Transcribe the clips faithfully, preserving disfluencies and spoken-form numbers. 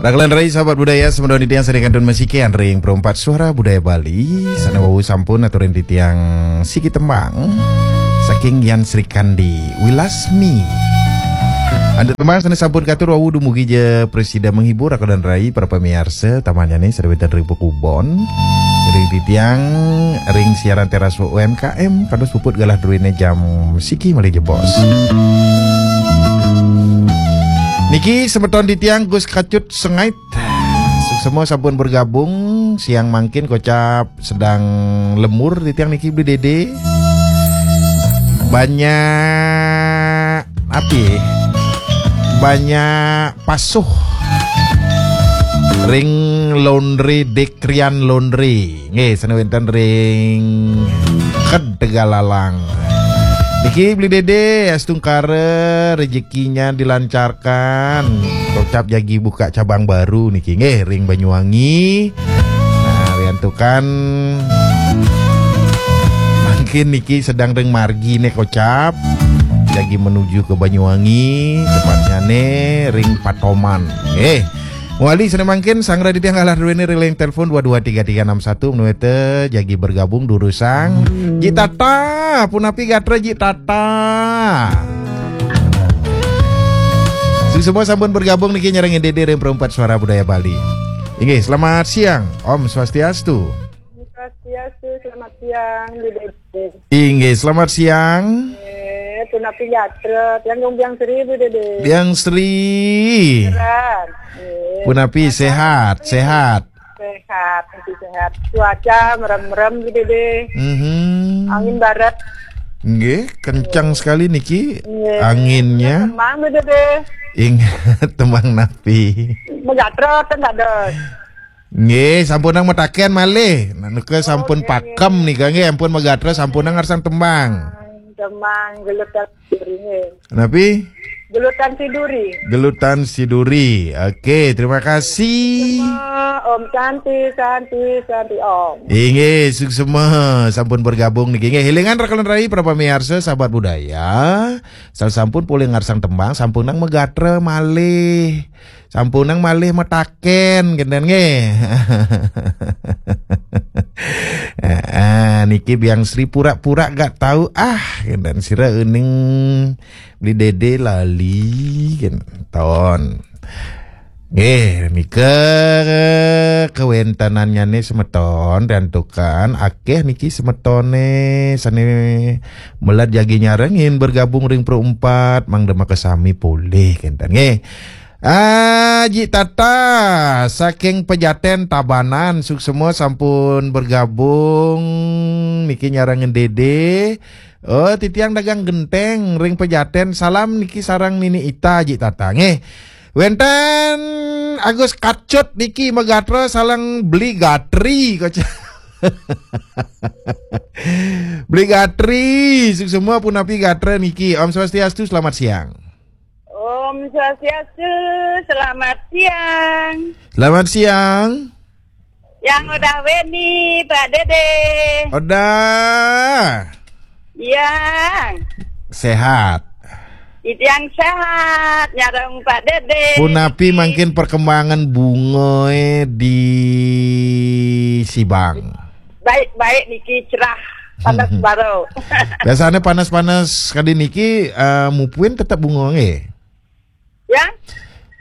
Rakelan rai sahabat budaya, semeton titiang sané kantun masikian ring Perempat Suara Budaya Bali, sané wau sampun aturin titiang siki tembang saking Yan Srikandi, Wilasmi. Antuk tembang sané sampun katur wau dumugi ja prasida menghibur rakelan rai para pamiarsa, tamanyané sané wénten ring pakubon. Ring titiang ring siaran teras U M K M, kados puput galah druéné jam siki malih jebos. Niki semeton titiang Gus Kacut Sengait. Suksma sampun bergabung siang mangkin, kocap sedang lemur titiang niki Bli Dede. Banyak api? Banyak pasuh ring laundry, Dekrian Laundry. Nggih, sané wénten ring Ked Tegalalang. Niki Bli Dede, astungkara rezekinya dilancarkan. Kocap jagi buka cabang baru niki nggih ring Banyuwangi. Nah, riantukan mangkin niki sedang ring marginé kocap. Jagi menuju ke Banyuwangi, tepatnyané ring Patoman. Nggih. Wali sané mangkin, sanggra titiang galah druéné ring line telepon dua dua tiga tiga enam satu, menawi té jagi bergabung durusang. Ji Tata, punapi gatra Ji Tata? Suksma sampun bergabung niki nyarengin Dede ring Perempat Suara Budaya Bali. Inggih, selamat siang. Om Swastiastu. Swastiastu, selamat siang, Bli Dede. Inggih, selamat siang. Eh, punapi gatra, tiang Gung Biang Sri, Bli Dede. Biang Sri. Sehat. Eh, punapi, sehat, sehat. Sehat, masih sehat. Cuaca merem-merem, Bli Dede. Mhm. Angin barat. Nggih, kencang sekali niki. Nggih. Anginnya. Tembang, Bli Dede. Ingat tembang napi? Magatra, ten dados. Nggih, sampunang mataken malih. Nah, nika sampun, oh, nggih, pakem nggih. Nika nggih, ampun magatra, sampunang ngarsang tembang. Tembang Gelutan Siduri, nggih. Napi? Gelutan Siduri. Gelutan Siduri. Oke, terima kasih. Om Santi, Santi, Santi Om. Inggih, suksma sampun bergabung niki. Nggih, élingan rakelan rai para pamiarsa, sahabat budaya. Sasampun polih ngarsang tembang, sampunang magatra malih. Sampunang malih mataken, kénten nggih. Heeh, niki Biang Sri pura-pura gak tahu, ah, kénten sira uning Bli Dede lali, kénten. Nggih, nika kawéntenannyané semeton, riantukan akéh niki semetoné sané meled jagi nyarengin bergabung ring Pro Empat, mangda makasami polih, kénten nggih. Ah, Ji Tata, saking Pejaten Tabanan, suksma sampun bergabung niki nyarengin Dede. Oh, titiang dagang genteng ring Pejaten, salam niki sareng Nini Ita, Ji Tata nggih. Wénten Agus Kacut niki magatra sareng Bli Gatri, kocap. Bli Gatri, suksma punapi gatra niki. Om Swastiastu, selamat siang. Om Swastiastu, selamat siang. Selamat siang. Yang Odah Weni, Pak Dede. Odah. Yang. Sehat. Yang sehat, nyareng Pak Dede. Punapi mangkin perkembangan bungaé di Sibang? Baik-baik niki, cerah, panas baru. Biasanya panas-panas kadi niki, eh, mupuin tetep bunga nggih? Ya?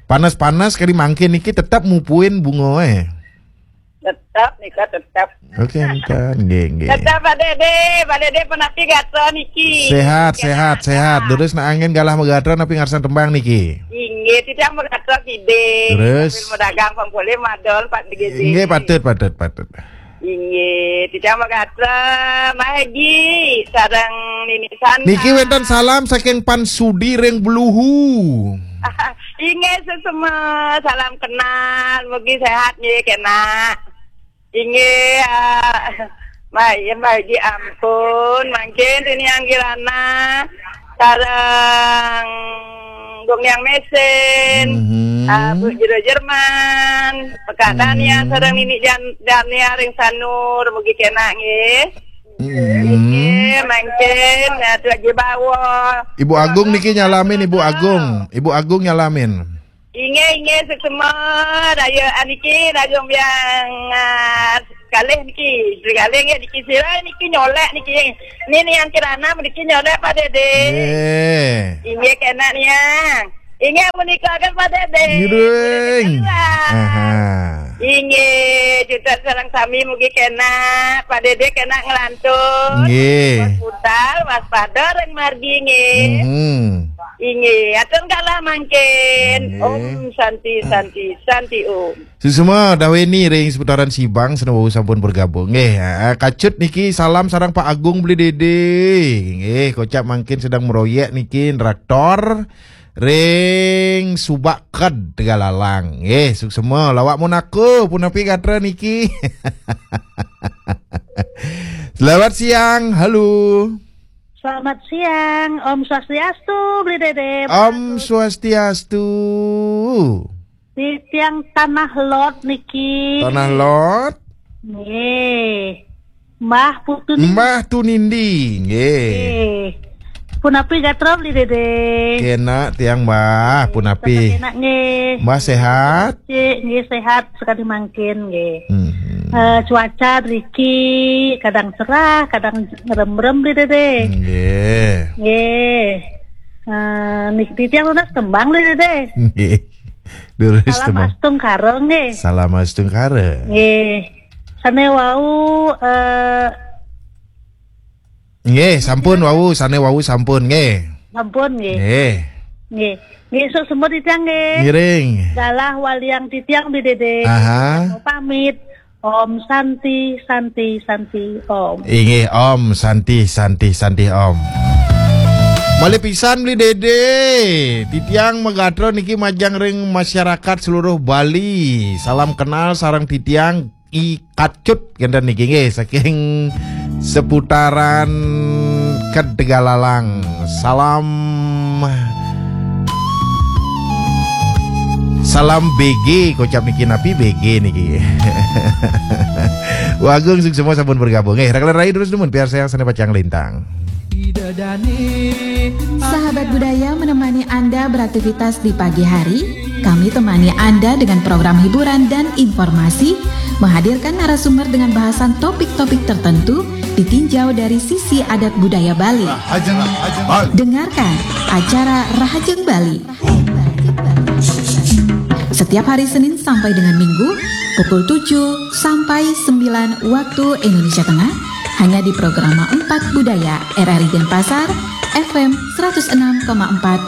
Panas-panas kadi mangkin niki tetep mupuin bunga, eh? Tetep nika, tetep. Oke, entar, nggih, nggih. Tetep, Pak Dede, Pak Dede punapi gatra niki? Sehat, sehat, sehat. Terus nak angin galah magatra napi ngarsang tembang niki? Inggih, titiang magatra kiding. Terus? Sambil madagang pang polih madol, Pak Dede. Inggih, patut, patut, patut. Inggih, titiang magatra, Mah Egi, sareng Nini Santa. Niki wénten salam saking Pan Sudi ring Bluhu. Inggih, sesama, salam kenal, mugi sehat nggih, kena. Inggih, ah, Mah, ya, Mah Egi ampun, mangkin tiniang Kirana, sareng Gung Yang Mesin, mhm, ah, Bu Jero Jerman, Pekak Dania, mhm, sareng Nini Jan-, Dania ring Sanur, mugi kena nggih. Mhm. Nggih, mangkin, ya, Tu Aji Bawa. Ibu Agung niki nyalamin, Ibu Agung. Ibu Agung nyalamin. Inggih, inggih, suksma. Daya, ah, niki, daya biang, ah, kalih niki. Kalih nggih niki sira niki nyolek niki. Ni, ni yang kirana niki nyolek Pak Dede. Nggih. Inggih, kena ni, ah. Inggih, menika kan Pak Dede. Ngiring. Ngiring. Aha. Inggih, juta sareng sami mugi kena, Pak Dede kena ngelantur. Nggih. Budal, waspada ring margi nggih. Mhm. Inggih, atur kalah mangkin. Nggih. Om Santi, Santi, Santi Om. Suksma, Daweni ring seputaran Sibang, sane wau sampun bergabung. Nggih, ah, kacut niki salam sareng Pak Agung Beli Dede. Nggih, kocap mangkin sedang meroyek niki traktor ring Subak Ked Tegalalang. Nggih, suksma. Lawak Monaco, punapi gatra niki. Selamat siang, halo. Selamat siang, Om Swastiastu, Beli Dede. Om Swastiastu. Di tiang Tanah Lot niki. Tanah Lot. Nggih. Mbah Putu Nindi. Mbah Tunindi, nggih. Nggih. Punapi gatra Beli Dede. Kena tiang Mbah, punapi. Kena nggih. Mbah sehat? Cik, nggih sehat sekali mangkin nggih. Mhm. Eh, cuaca riki kadang cerah, kadang ngerem-rem Beli Dede. Nggih. Nggih. Eh, niki tiang nunas tembang Beli Dede. Nggih. Durus Salam tembang. Astungkara nggih. Salam astungkara. Nggih. Sane wau, eh, Nggih, sampun wau, sane wau sampun nggih. Sampun nggih. Nggih. Nggih. Nggih, suksma titiang nggih. Ngiring. Galah waliang titiang Beli Dede. Aha. Mau pamit. Om Santi, Santi, Santi, Om. Inggih, Om Santi, Santi, Santi, Om. Malih pisan Beli Dede. Titiang magatra niki majeng ring masyarakat seluruh Bali. Salam kenal sareng titiang I Kacut kenten niki nggih saking seputaran Kedegalalang. Salam, salam B G, kocap niki napi B G niki. Wagung suksma sampun bergabung. Eh, Raklan Rai terus dumun, biar saya sana pacang lintang. Sahabat budaya menemani Anda beraktivitas di pagi hari. Kami temani Anda dengan program hiburan dan informasi, menghadirkan narasumber dengan bahasan topik-topik tertentu, ditinjau dari sisi adat budaya Bali. Rahajeng Bali. Dengarkan acara Rahajeng Bali. Setiap hari Senin sampai dengan Minggu, pukul tujuh sampai sembilan waktu Indonesia Tengah, hanya di Programa empat Budaya R R I Denpasar, F M seratus enam koma empat